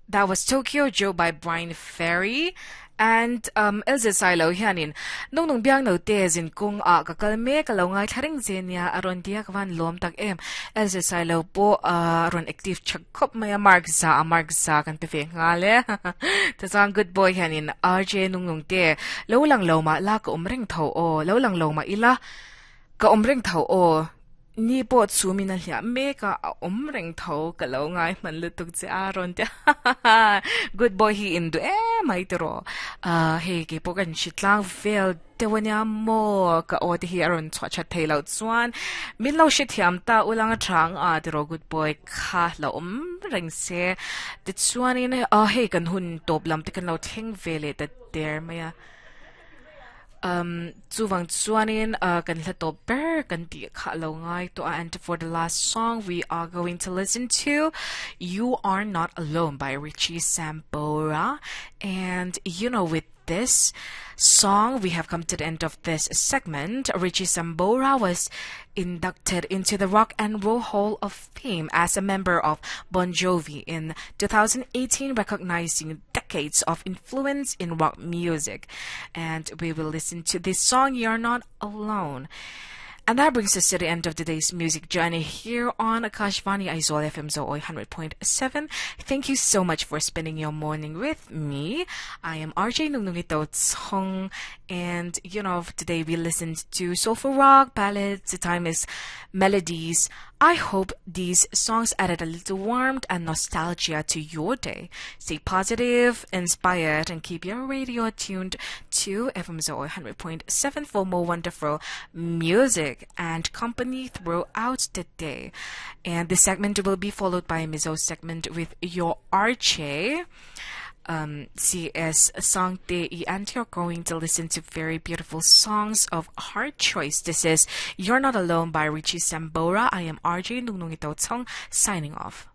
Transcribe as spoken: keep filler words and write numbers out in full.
That was Tokyo Joe by Bryan Ferry. And um Elze Silo hianin nung nung biang no te zin kung a ka kal me ka lo ngai tharing zenia aron dia ka van lom tak em Elze Silo po aron active chak khop maya mark za mark za kan pe ve nga le ta chang good boy hianin R J nung nung te lo lang lo ma la ka umreng tho o lo lang lo ma ila ka umreng tho o ni po chu min a hlia me ka a om reng tho ka lo ngai man lutuk che aron te good boy hi in du e mai te ro a he ke po kan shitlang vel te wania mo ka o te hi aron chwa chat thei lo chuan min lo shi thiam ta ulang thang a te ro good boy kha lo om reng se te chuan in a he kan hun top lam te kan lo thleng vele ta der maya um chuwang chuanin uh, kan hla to ber kan ti kha lo ngai to. And for the last song, we are going to listen to You Are Not Alone by Richie Sambora. And you know with this song, we have come to the end of this segment. Richie Sambora was inducted into the Rock and Roll Hall of Fame as a member of Bon Jovi in twenty eighteen, recognizing decades of influence in rock music. And we will listen to this song, You're Not Alone. And that brings us to the end of today's music journey here on Akashvani Aizawl F M Zoe one hundred point seven. Thank you so much for spending your morning with me. I am R J Nungnungito Song, and you know, today we listened to soulful rock, ballads, the timeless melodies. I hope these songs added a little warmth and nostalgia to your day. Stay positive, inspired, and keep your radio tuned to F M Zoe one hundred point seven for more wonderful music and company throughout the day. And this segment will be followed by a Mizo segment with your R J um, C S Sangte, and you're going to listen to very beautiful songs of heart choice. This is You're Not Alone by Richie Sambora. I am R J Nungnungito Tong signing off.